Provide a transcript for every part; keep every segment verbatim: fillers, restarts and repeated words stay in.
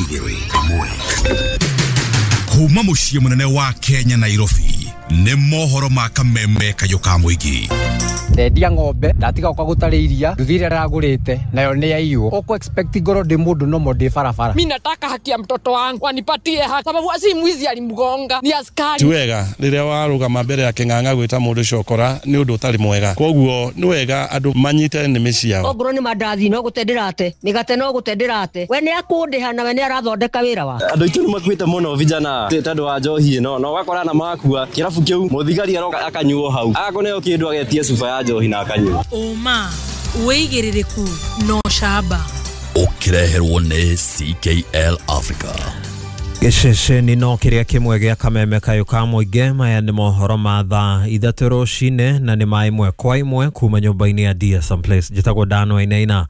Igĩrĩ ĩmwe. Kuma mũciĩ mũnene wa Kenya Nairobi nĩ mohoro ma kameme kayũ ka mũingĩ. Ndendia ng'ombe ndatiga gũka gũtarĩ iria nduthi ĩrĩa ndĩragũrĩte nayo nĩ yaiywo. Ũkũ expect ngorwo ndĩ mũndũ nomo ndĩ barabara. Mimi nataka haki ya mtoto wangu wanipatie haki, sababu si mwizi alimgonga ni askari. Ti wega rĩrĩa warũgama mbere ya kĩng'ang'a gwĩta mũndũ cokora nĩ ũndũ ũtarĩ mwega, koguo nĩ wega andũ manyite nĩmĩ ciao. Ongorwo nĩ mandathi no gũte ndĩrate, mĩgate no gũte ndĩrate, we nĩ akũndĩha na we nĩ arathondeka wĩra wake. Andũ aitũ nĩ makuĩte mũno vijana tondũ wa njohi ĩno, na ũgakora na makua kĩrabu kĩu mũthigari aroka akanyuo hau akũneo kĩndũ agetie cuba ya njohi na akanyua. Ũma wĩigĩrĩrĩku no camba ũkĩreherwo nĩ C K L Africa. Gĩceceni no kĩrĩa kĩmwe gĩa kameme kayũ ka mũingĩ. Maya nĩ mohoro ma thaa ithatũ rũcinĩ na nĩ ma ĩmwe kwa ĩmwe kuma nyũmba-inĩ ya D S M Place. Njĩtagwo Dan Wainaina.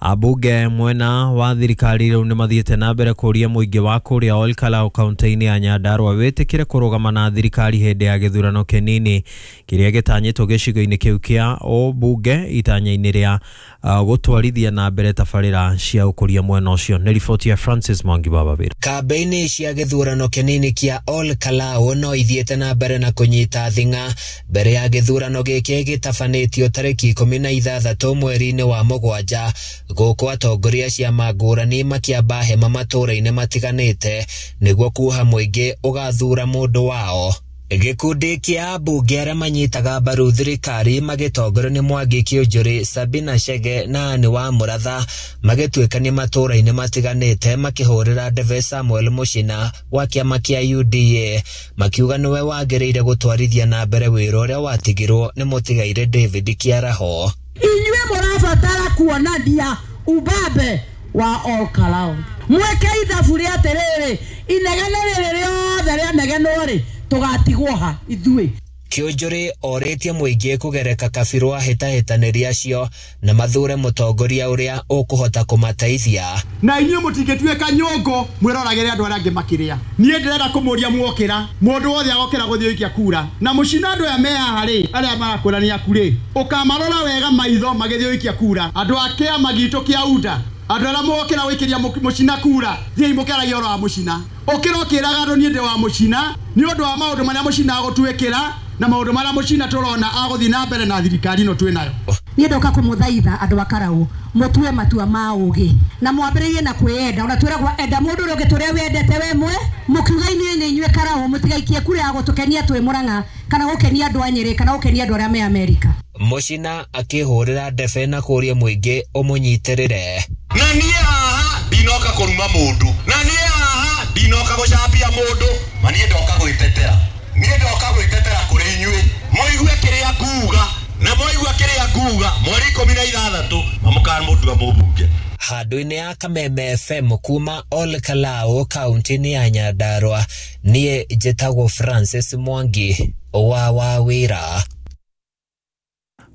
Ambunge mwena wa thirikari rĩu nĩ mathiĩte na mbere kũria mũingĩ wa kũrĩa Ol Kalou kaunti-inĩ ya Nyandarua wĩtĩkĩre kũrũgama na thirikari hĩndĩ ya gĩthurano kĩnini kĩrĩa gĩtanyĩtwo gĩcigo-inĩ kĩu kĩa ũmbunge itanya-inĩ rĩa uh, gũtwarithia na mbere tabarĩra cia ũkũria mwena ũcio. Nĩ riboti ya Francis Mwangi wa Wawira. Kambeini cia gĩthurano kĩnini kĩa Ol Kalou no ithiĩte na mbere na kũnyita thing'a mbere ya gĩthurano gĩkĩ gĩtabanĩtio tarĩki ikũmi na ithathatũ mweri-inĩ wa mũgwanja, gũkũ atongoria ciama ngũrani makĩamba hema matũũra-inĩ matiganĩte nĩguo kuoha mũingĩ ũgathura mũndũ wao. Gĩkundi kĩa ambunge arĩa manyitaga mbaru thirikari magĩtongorio nĩ Mwangi Kĩũnjũrĩ, Sabina Chege na Anne wa Mũratha magĩtuĩkania matũũra-inĩ matiganĩte makĩhũrĩra ndebe Samuel Mũchina wa kĩama kĩa U D A makiuga nĩwe wagĩrĩire gũtwarithia na mbere wĩra ũrĩa watigirwo nĩ mũtigaire David Kĩaraho. Inyuĩ mũrabatara kuonania ubabe wa Ol Kalou, mweke ithabu rĩa atĩrĩrĩ, inegene rĩrĩ rĩothe rĩanegenwo rĩ tũgatigwo ha ithuĩ. Kĩũnjũrĩ orĩtie mũingĩ kũgereka kabirũ ahĩtahĩtanĩri acio na mathure mũtongoria ũrĩa ũkũhota kũmateithia. Na inyuĩ mũtingĩtuĩka nyũngũ mwĩroragĩre andũ arĩa angĩ makĩrĩa. Niĩ ndĩrenda kũmũria mwokĩra, mũndũ wothe agokĩra gũthiĩ gũikia kura na mũcina andũ aya me haha rĩ, arĩa marakũrania aku rĩ, ũkamarora wega maitho magĩthiĩ gũikia kura. Andũ a kĩama gitũ kĩa U D A, andũ arĩa mwokĩra gũikĩria mũcina kura, thiĩi mũkĩaragia ũhoro wa mũcina. Ũkĩra ũkĩraga andũ niĩ ndĩ wa mũcina nĩ ũndũ wa maũndũ marĩa mũcina agũtuĩkĩra na maũndũ marĩa mũcina tũrona agũthiĩ na mbere na thirikari ĩno twĩ nayo. Niĩ ndoka kũmũthaitha andũ a Karau mũtue matua ma ũgĩ na mwambĩrĩrie na kwĩyenda. Ona twĩragwo enda mũndũ ũrĩa ũngĩ tũrĩa wendete we mwe, mũkiuga inyuĩ nĩ inyuĩ Karau mũtigaikie kura ya gũtũkenia twĩ Mũrang'a kana gũkenia andũ a Nyĩrĩ kana gũkenia andũ arĩa me Amerika. Mũcina akĩhũrĩra ndebe na kũria mũingĩ ũmũnyitĩrĩre. Na niĩ haha ndinoka kũruma mũndũ, na niĩ haha ndinoka gũcambia mũndũ, ma niĩ ndoka gwĩtetera. Niĩ ndoka gwĩtetera kũrĩ inyuĩ mũigue kĩrĩa nguga, na mwaigua kĩrĩa nguga mweri ikũmi na ithathatũ mamũkamũndua mũmbunge. Handũ-inĩ ya Kameme F M kuma Ol Kalou kaunti-inĩ ya Nyandarua, niĩ njĩtagwo Francis Mwangi wa Wawira.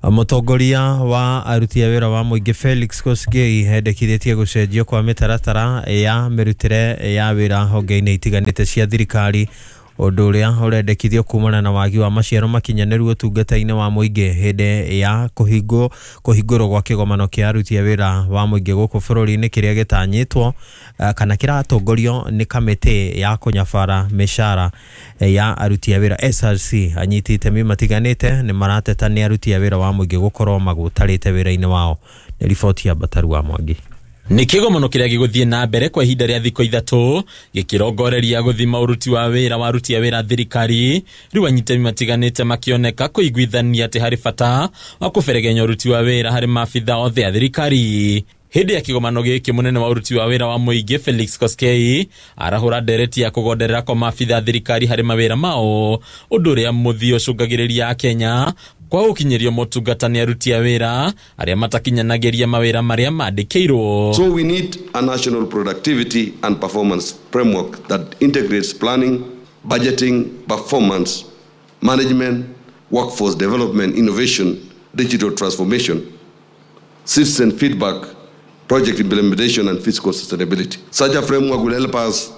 Mũtongoria wa aruti a wĩra wa mũingĩ Felix Kosgei endekithĩtie gũcenjio kwa mĩtaratara ya mĩrutĩre ya wĩra honge-inĩ itiganĩte cia thirikari, ũndũ ũrĩa ũrendekithio kumana na wagi wa maciaro makinyanĩru ũtungata-inĩ wa mũingĩ hĩndĩ ya kũhingwo kũhingũrwo gwa kĩgomano kĩa aruti a wĩra wa mũingĩ gũkũ bũrũri-inĩ kĩrĩa gĩtanyĩtwo kana kĩratongorio nĩ kamĩtĩ ya kũnyabara mĩcara ya aruti a wĩra S R C. Anyiti itemi matiganĩte nĩ marateta nĩ aruti a wĩra wa mũingĩ gũkorwo magũtarĩte wĩra-inĩ wao. Nĩ riboti ya Bataru wa Mwangi. Nĩ kĩgomano kĩrĩa gĩgũthiĩ na mbere kwa ihinda rĩa thikũ ithatũ gĩkĩrongoreria gũthima ũruti wa wĩra wa aruti a wĩra thirikari, rĩu anyitemi matiganĩte makĩoneka kũiguithania atĩ harĩ bata wa kũberegenya ũruti wa wĩra harĩ maabitha othe a thirikari. Hĩndĩ ya kĩgomano gĩkĩ mũnene wa ũruti wa wĩra wa mũingĩ Felix Koskei arahũra ndereti ya kũgonderera kwa maabitha a thirikari harĩ mawĩra mao, ũndũ ũrĩa mũthia ũcũngagĩrĩria Akenya kwa gũkinyĩrio motungata nĩ aruti a wĩra arĩa matakinyanagĩria mawĩra marĩa mandĩkĩirwo. So we need a national productivity and performance framework that integrates planning, budgeting, performance, management, workforce development, innovation, digital transformation, citizen feedback, project implementation, and fiscal sustainability. Such a framework will help us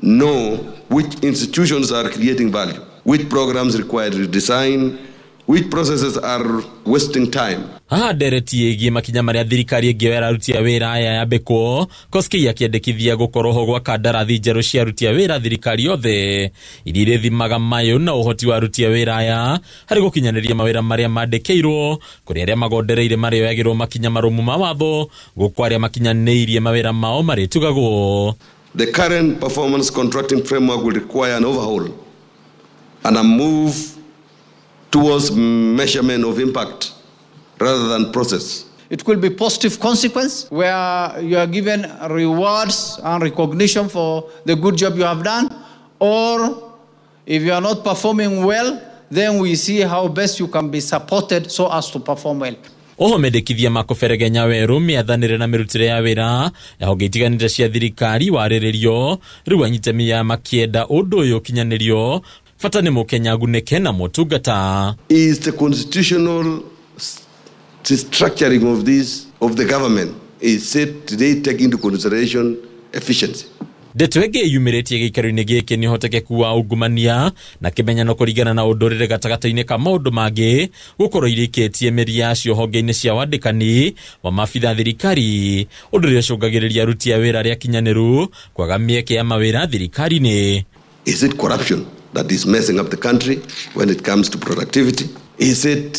know which institutions are creating value, which programs require redesign, Which processes are wasting time? Haha ndereti ĩgiĩ makinya marĩa thirikari ĩngĩoera aruti a wĩra aya yambĩkwo Koskei akĩendekithia gũkorwo ho gwa kandarathi njerũ cia aruti a wĩra thirikari yothe iria irĩthimaga mayũ na ũhoti wa aruti a wĩra aya harĩ gũkinyanĩria mawĩra marĩa mandĩkĩirwo kũrĩ arĩa magondereire marĩoyagĩrwo makinya marũmu ma watho gũkũ arĩa makinyanĩirie mawĩra mao marĩtugagwo. The current performance contracting framework will require an overhaul and a move towards measurement of impact rather than process. It could be positive consequence where you are given rewards and recognition for the good job you have done, or if you are not performing well, then we see how best you can be supported so as to perform well. Oho mendekithia ma kũberegenya werũ mĩathanĩre na mĩrutĩre ya wĩra ya honge itiganĩte cia thirikari warĩrĩrio rĩu anyitami ya makĩenda ũndũ ũyũ ũkinyanĩrio bata nĩ mũkenya agunĩke na motungata. Is the constitutional structuring of this of the government is said today take into consideration efficiency. Ndeto ĩngĩ yumĩrĩtie gĩikaro-inĩ gĩkĩ nĩ ũhotekeku wa ungumania na kĩmenyano kũringana na ũndũrĩre gatagatĩ-inĩ ka maũndũ mangĩ gũkorwo irĩkĩtie mĩri yacio honge-inĩ cia wandĩkani wa maabitha thirikari ũndũ ũrĩa ũcũngagĩrĩria aruti a wĩra arĩa akinyanĩru kwaga mĩeke ya mawĩra thirikari-inĩ. Is it corruption that is messing up the country when it comes to productivity? Is it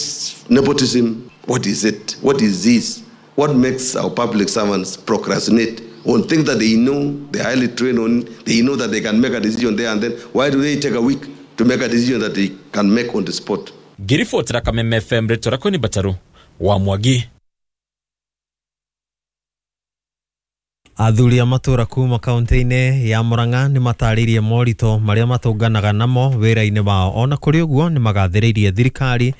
nepotism? What is it? What is this? What makes our public servants procrastinate on things that they know, they're highly trained on, they know that they can make a decision there and then? Why do they take a week to make a decision that they can make on the spot? Ngiribotera Kameme F M rĩtwa rĩakwa nĩ Bataru wa Mwangi. Athuri a matũra kuma kaunti-inĩ ya Murang'a nĩ matarĩirie moritũ marĩa matũnganaga namo wĩra-inĩ wao. Ona kũrĩ ũguo nĩ magathĩrĩirie thirikari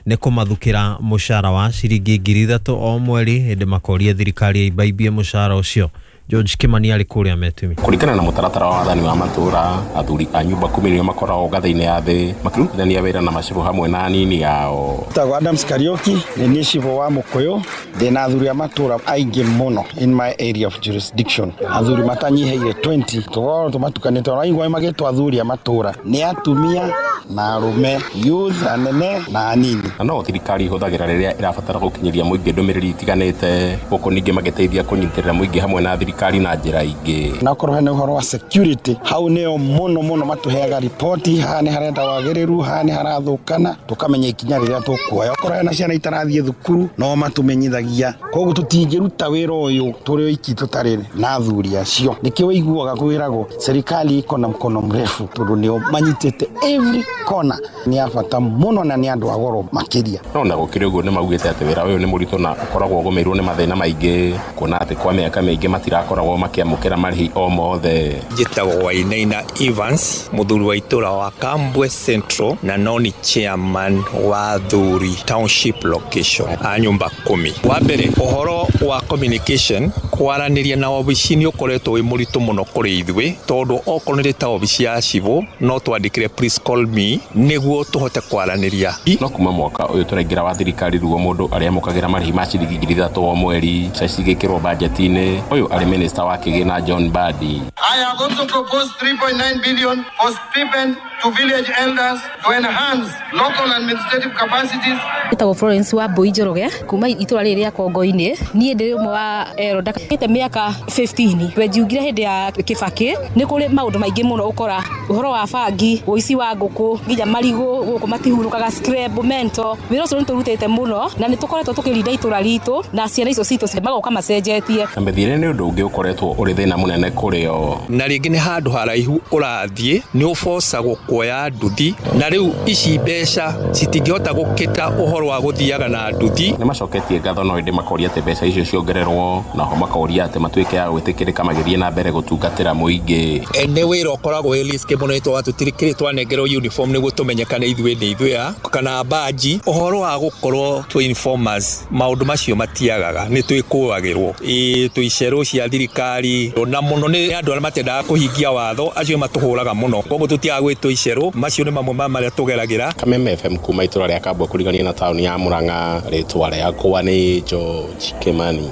nĩ kũmathukĩra mũcara wa ciringi ngiri ithatũ o mweri hĩndĩ makoria thirikari ĩimbaimbie mũcara ũcio. George Kimani arĩ kũrĩa Metumi. Kũringana na mũtaratara wa wathani wa matũra, athuri a nyũmba kumi nĩo makoragwo ngathĩ-inĩ ya thĩ makĩrutithania wĩra na macibũ hamwe na anini ao. Njĩtagwo Adams Kariuki, nĩ niĩ cibũ wa Mũkũyũ, ndĩna athuri a matũra aingĩ mũno in my area of jurisdiction. Athuri matanyihĩire twenty, tũkoragwo tũmatukanĩte, ona aingĩ magĩtwo athuri a matũra nĩ atumia na arũme, youth, anene na anini. Na no thirikari ihũthagĩra rĩrĩa ĩrabatara gũkinyĩria mũingĩ ndũmĩrĩri itiganĩte, gũkũ ningĩ magĩteithia kũnyitĩrĩra mũingĩ hamwe na thirikari na njĩra ingĩ. Na okorwo hena ũhoro wa security, hau nĩo mũno mũno matũheaga riboti, haha nĩ harenda wagĩrĩru, haha nĩ harathũkana, tũkamenya ikinya rĩrĩa tũkuoya. Okorwo hena ciana itarathiĩ thukuru, no matũmenyithagia. Koguo tũtingĩruta wĩra ũyũ tũrĩ oiki tũtarĩ na athuri acio. Nĩkĩo ũiguaga kwĩragwo serikali iko na mkono mrefu, tondũ nĩo manyitĩte every kona. Nĩ a bata mũno na nĩ andũ a goro makĩria. No na gũkĩrĩ ũguo nĩ maugĩte atĩ wĩra ũyũ nĩ mũritũ na ũkoragwo ũgũmĩirwo nĩ mathĩna maingĩ, kuona atĩ kwa mĩaka mĩingĩ matirakoragwo makĩamũkĩra marĩhi o mothe. Njĩtagwo Wainaina Evans, mũthuri wa itũra wa Kambwe Central na no nĩ chairman wa athuri township location a nyũmba kumi. Wa mbere, ũhoro wa communication, kwaranĩria na obici nĩ ũkoretwo wĩ mũritũ mũno kũrĩ ithuĩ, tondũ okorwo nĩ ta obici ya cibũ no twandĩkire please call me nĩguo tũhote kwaranĩria. No kuma mwaka ũyũ tũraingĩra wa thirikari ruo mũndũ arĩamũkagĩra marĩhi ma ciringi ngiri ithatũ o mweri, mbeca cigĩkĩrwo bajeti-inĩ. Ũyũ arĩ minister wa kĩgĩna John Mbadi. I have also proposed three point nine billion for stipend to village elders to enhance local administrative capacities. Njĩtagwo Florence wa Mbui Njoroge kuma itũra rĩrĩ rĩa Kongo-inĩ. Niĩ ndĩ ũmwe wa elder ndakĩte mĩaka fifteen. Wenjiugire hĩndĩ ya Kibaki nĩ kũrĩ maũndũ maingĩ mũno ũkora ũhoro wa bangi, ũici wa ngũkũ, nginya marigũ gũkũ matihurũkaga, scrap mento. Wĩra ũcio nĩ tũrutĩte mũno na nĩ tũkoretwo tũkĩrinda itũra ritũ na ciana icio citũ magoka macenjetie. Na mĩthiĩre nĩ ũndũ ũngĩ ũkoretwo ũrĩ thĩna mũnene kũrĩ o. Na rĩngĩ nĩ handũ haraihu ũrathiĩ nĩ ũbocagwo kuoya nduthi, na rĩu ici mbeca citingĩhota gũkĩta ũhoro wa gũthiaga na nduthi. Nĩ macoketie ngatho no ĩndĩ makoria atĩ mbeca icio ciongererwo, naho makoria atĩ matuĩke a gwĩtĩkĩrĩka magĩthiĩ na mbere gũtungatĩra mũingĩ. Nĩ wĩra ũkoragwo wĩ risk mũno nĩ tondũ tũtirĩ twanengerwo uniform nĩguo tũmenyekane ithuĩ nĩ ithuĩ a kana baji. Ũhoro wa gũkorwo twĩ informers, maũndũ macio matiagaga, nĩ twĩkũagĩrwo ĩ twĩ icerũ cia thirikari, na mũno nĩ andũ arĩa matendaga kũhingia watho acio matũhũraga mũno, koguo tũtiaga gwĩtwo icerũ. Macio nĩ mamwe ma marĩa tũgeragĩra. Kameme F M kuma itũra rĩa Kambwe kũrigania na taũni ya Murang'a, rĩtwa rĩakwa nĩ George Kimani.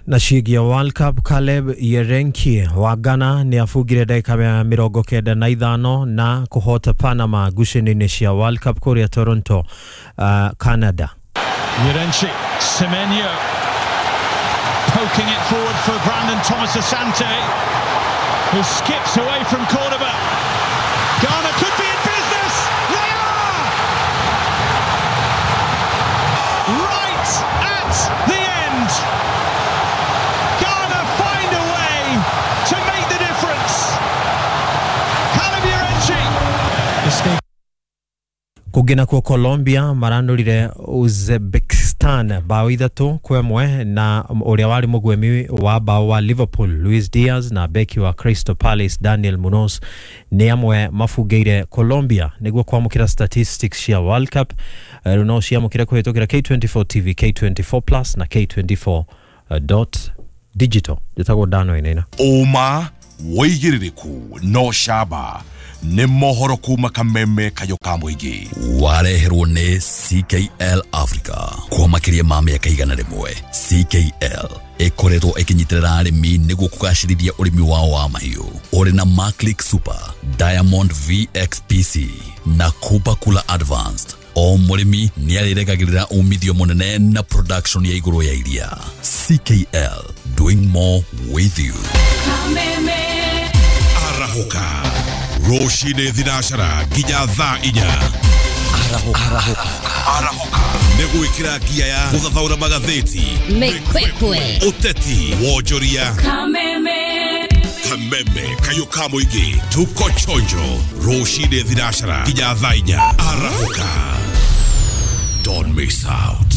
Na ciĩgiĩ World Cup, Caleb Yerenki wa Ghana nĩ abungire ndagĩka ya mĩrongo kenda na ithano na kũhota Panama ngucanio-inĩ cia World Cup kũrĩa Toronto, uh, Canada. Yirenkyi, Semenyo poking it forward for Brandon Thomas Asante, who skips away from Cordoba. Ghana could be in business. They are! Right at the end. Ghana find a way to make the difference. Caleb Yirenkyi. Escape. Kũngĩ nakuo Colombia maranũrire Uzbekistan bao ithatũ kwa ĩmwe na ũrĩa warĩ mũgwemi wa bao wa Liverpool Luis Diaz na beki wa Crystal Palace Daniel Munoz nĩ amwe mabungĩire Colombia nĩguo kwamũkĩra statistics cia World Cup. Rĩu no ciamũkĩre kũhĩtũkĩra K twenty-four T V, K twenty-four Plus na K twenty-four dot digital. Njĩtagwo Dan Wainaina. Ũma wĩigĩrĩrĩku no camba nĩ mohoro kuma kameme kayo ka mũingĩ. Wareherwo nĩ C K L Africa kwa makĩria ma mĩaka igana rĩmwe. C K L ĩkoretwo ĩkĩnyitĩrĩra arĩmi nĩguo kũgacĩrithia ũrĩmi wao wa mahiũ. Ũrĩ na Maclick Super, Diamond V X P C na Cooper Cooler Advanced. O mũrĩmi nĩ arĩregagĩrĩra umithio mũnene na production ya igũrũ ya iria. C K L, doing more with you. Kameme. Arahũka rũcinĩ thinacara nginya thaa inya. Arahũka. Arahũka nĩ gwĩkĩra ngia ya gũthathaũra magathĩti, Mĩkwekwe, ũteti, wonjoria. Kameme. Kameme kayo ka mũingĩ, tuko chonjo rũcinĩ thinacara nginya thaa inya. Arahũka, don't miss out.